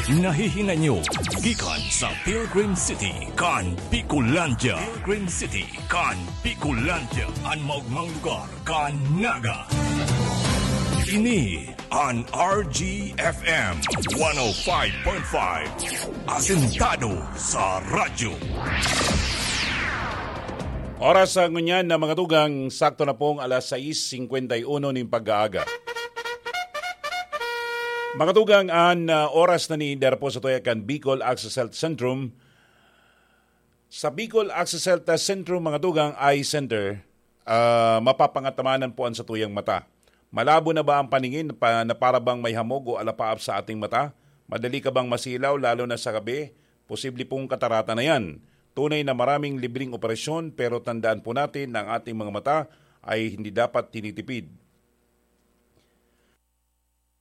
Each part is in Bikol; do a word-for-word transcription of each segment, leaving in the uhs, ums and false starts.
Nahihinay nyo gikan sa Pilgrim City kan Bicolandia. Pilgrim City kan Bicolandia, an maogmang lugar kan Naga. Ini an R G F M one oh five point five, asentado sa radyo. Oras sa ngunyan na mga tugang, sakto na pong alas sais singkwenta y uno nin pag-aaga. Mga tugang, an, ah, oras na ni Darpo sa tuya kan Bicol Access Health Centrum. Sa Bicol Access Health Centrum, mga tugang, Eye Center, ah, mapapangatamanan po an satuyang mata. Malabo na ba ang paningin pa, na para bang may hamog o alapaap sa ating mata? Madali ka bang masilaw, lalo na sa gabi? Posible pong katarata na yan. Tunay na maraming libreng operasyon, pero tandaan po natin na ang ating mga mata ay hindi dapat tinitipid.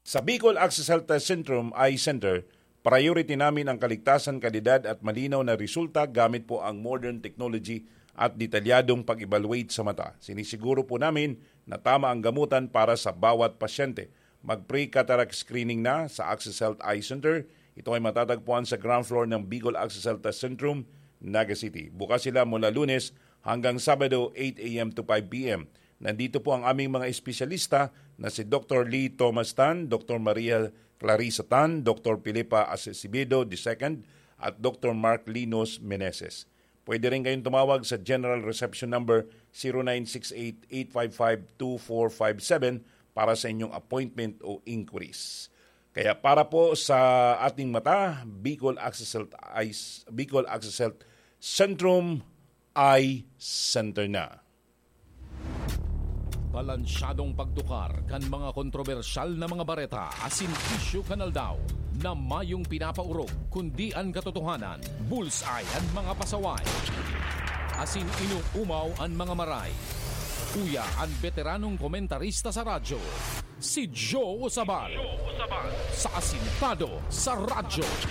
Sa Bicol Access Health Centrum Eye Center, priority namin ang kaligtasan, kalidad at malinaw na resulta gamit po ang modern technology at detalyadong pag-evaluate sa mata. Sinisiguro po namin na tama ang gamutan para sa bawat pasyente. Mag-pre-cataract screening na sa Access Health Eye Center. Ito ay matatagpuan sa ground floor ng Bicol Access Health Centrum, Naga City. Bukas sila mula Lunes hanggang Sabado, eight a m to five p m. Nandito po ang aming mga espesyalista na si Doktor Lee Thomas Tan, Doktor Maria Clarissa Tan, Doktor Filipa Acevedo the second, at Doktor Mark Linos Meneses. Pwede rin kayong tumawag sa General Reception Number zero nine six eight, eight five five, two four five seven para sa inyong appointment o inquiries. Kaya para po sa ating mata, Bicol Access Health Eyes, Bicol Access Health Centrum Eye Center na. Balansyadong pagtukar kan mga kontrobersyal na mga bareta asin isyu kan aldaw na mayong pinapaorog, kundi an katotohanan, bullseye an mga pasaway, asin inoomaw an mga maray. Uya an beteranong komentarista sa radyo, si Joe Usabal, sa Asintado sa Radyo.